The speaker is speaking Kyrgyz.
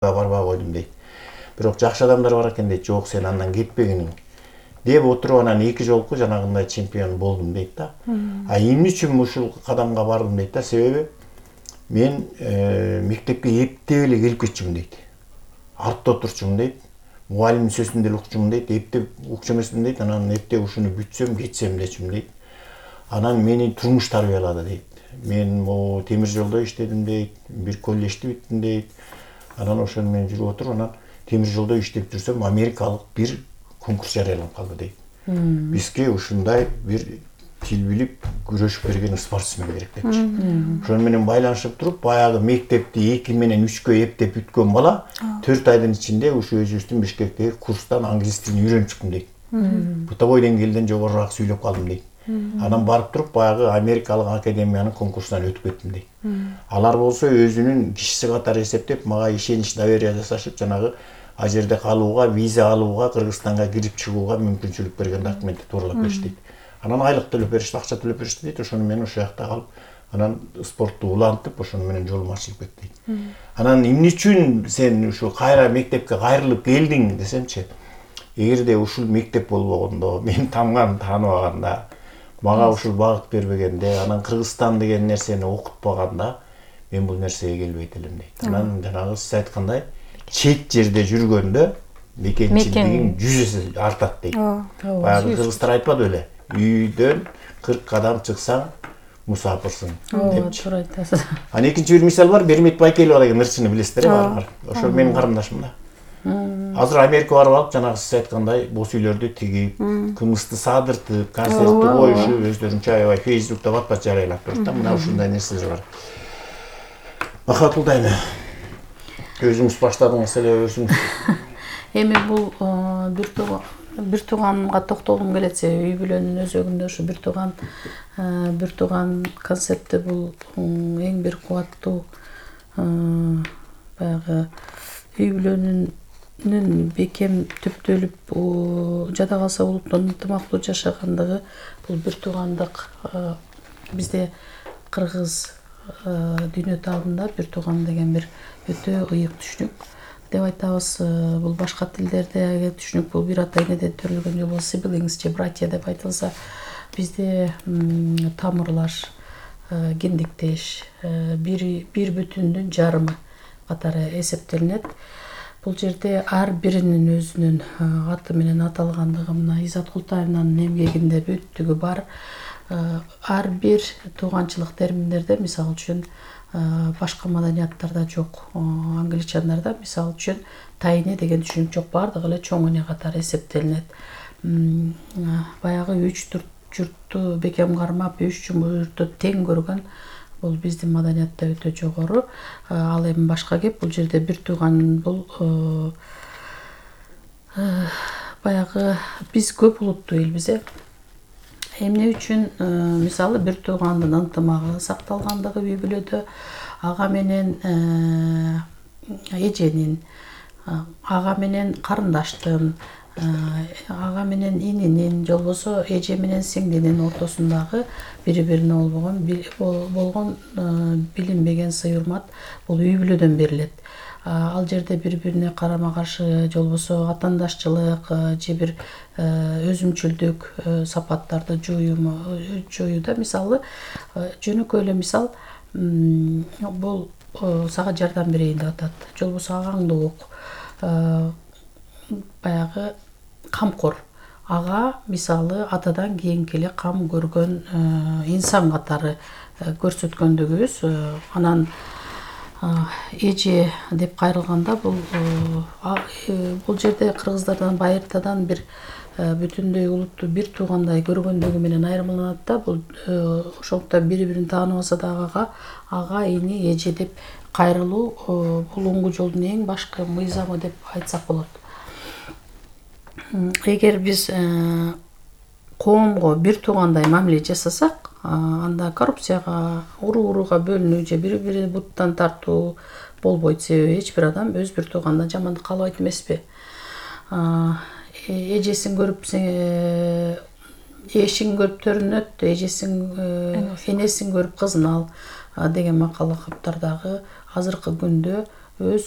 барбай койдум дейт. Бирок жакшы адамдар бар экен дейт. Жок, сен андан кетпегиниң деп отуруп анан 2 жолку жанагындай чемпион болдум дейт да. А эмне үчүн ушул кадамга бардым дейт да? Себеби мен мектепке эптеп эле келип кетчүмүн дейт. Артта отурчумун дейт. Мугалимдин сөзүн деле укчумун дейт. Эптеп укчу эмесмин дейт. Анан эптеп ушуну бүтсөм, кетсем дечүмүн дейт. Анан мени турмуш тарбиялады дейт. Мен могу темир жолдо иштедим дейт. Бир коллежди бүттүм дейт. Анан ошону мен жүрүп отуруп, анан темир жолдо иштеп жүрсөм, америкалык бир конкурс жарыяланып калды дейт. Бизге ушундай бир тил билип күрөшүп берген спортсмен керек депчи. Ошону менен байланышып туруп, баягы мектепти 2 менен 3кө эптеп бүткөн бала 4 айдын ичинде ушу өзүбүздүн Бишкектеги курстан англис тилин үйрөнүп чыктым дейт. Бытовой деңгээлден жогорураак сүйлөп калдым дейт. Анан барып туруп баягы америкалык академиянын конкурсунан өтүп кеттим дейт. Алар болсо өзүнүн кишиси катары эсептеп мага ишенич доверие жасашып, жанагы ал жерде калууга, виза алууга, Кыргызстанга кирип чыгууга мүмкүнчүлүк берген документти туурлап беришти дейт. Анан айлык төлөп беришти, акча төлөп беришти дейт. Ошону мен ошол жакта калып, анан спортту улантып, ошону менен жолум ачылып кетти дейт. Анан эмне үчүн сен ушу кайра мектепке кайрылып келдиң десемчи, эгерде ушул мектеп болбогондо, мен тамган тааныбаганда, мага ушул багыт бербегенде, анан Кыргызстан деген нерсени окутпаганда, мен бул нерсеге келбейт элем дейт. Анан жанагы сиз айткандай, чет жерде жүргөндө мекенчилигиң 100 эсе артат дейт. Баягы кыргыздар айтпады беле? Үйдөн 40 кадам чыксаң, мусафырсың депчи. Туура айтасыз. Анан экинчи бир мисал бар, Бермет Байкелова деген ырчыны билесиздер баарыңар. Ошол менин карындашым да. Азыр Америкага барып алып, жанагы сиз айткандай бос үйлөрдү тигип, кымызды садыртып, концертти коюшуп, өздөрүнчө аябай Facebook'та бат-бат жарыялап турат да. Мына ушундай нерселер бар. Махатул дайыма, өзүңүз баштадыңыз эле, өзүңүз. Эми бул бир тууганга токтолгум келет, себеби үй бүлөнүн өзөгүндө ушу бир тууган концепти бул эң бир кубаттуу баягы үй бүлөнүн бекем түптөлүп жада калса улуттун ынтымактуу жашагандыгы бул бир туугандык. Бизде кыргыз дүйнө таалында бир тууган деген бир өтө ыйык түшүнүк деп айтабыз. Бул башка тилдердеги түшүнүк бул бир ата энеден төрөлгөн же болбосо siblings же братья деп айтылса, бизде тамырлаш, гендиктеш, бир бүтүндүн жарымы катары эсептелинет. Бул жерде ар биринин өзүнүн аты менен аталгандыгы, мына Изат Култаевнанын эмгегинде бүттүгү бар. Ар бир тууганчылык терминдерде, мисалы үчүн, башка маданияттарда жок. Англичандарда мисалы үчүн тайыне деген түшүнүк жок, бардыгы эле чоң эне катары эсептелинет. Баягы 3 журтту бекем кармап, 3 журтту тең көргөн бул биздин маданиятта өтө жогору. Ал эми башка кеп, бул жерде бир тууган бул баягы биз көп улуттуу элбиз. Эмне үчүн мисалы бир туугандын ынтымагы сакталгандыгы үй бүлөдө, ага менен эженин, ага менен карындаштын, ага менен ининин, же болбосо эже менен сиңдинин ортосундагы бири-бирине болгон билинбеген сый-урмат бул үй бүлөдөн берилет. Ал жерде бири-бирине карама-каршы, же болбосо атаандашчылык же бир өзүмчүлдүк сапаттарды жоюуда, мисалы жөнөкөй эле мисал, бул сага жардам берейин деп атат, же болбосо агаңды ук, баягы камкор. Ага мисалы атадан кийинки эле кам көргөн инсан катары көрсөткөндүгүбүз. Анан эже деп кайрылганда бул жерде кыргыздардан байыртадан бир бүтүндөй улутту бир туугандай көргөндүгү менен айырмаланат да. Бул ошондуктан бири-бирин тааныбаса дагы ага, ини, эже деп кайрылуу бул оңгу жолдун эң башкы мыйзамы деп айтсак болот. Эгер биз коомго бир туугандай мамиле жасасак, анда коррупцияга, уруу-урууга бөлүнүү же бири-бири буттан тартуу болбойт. Себеби эч бир адам өз бир туугандан жамандык каалабайт эмеспи? Эжесин көрүп эшин көрүп төрүнөт, энесин көрүп кызын ал деген макал каптардагы азыркы күндө өз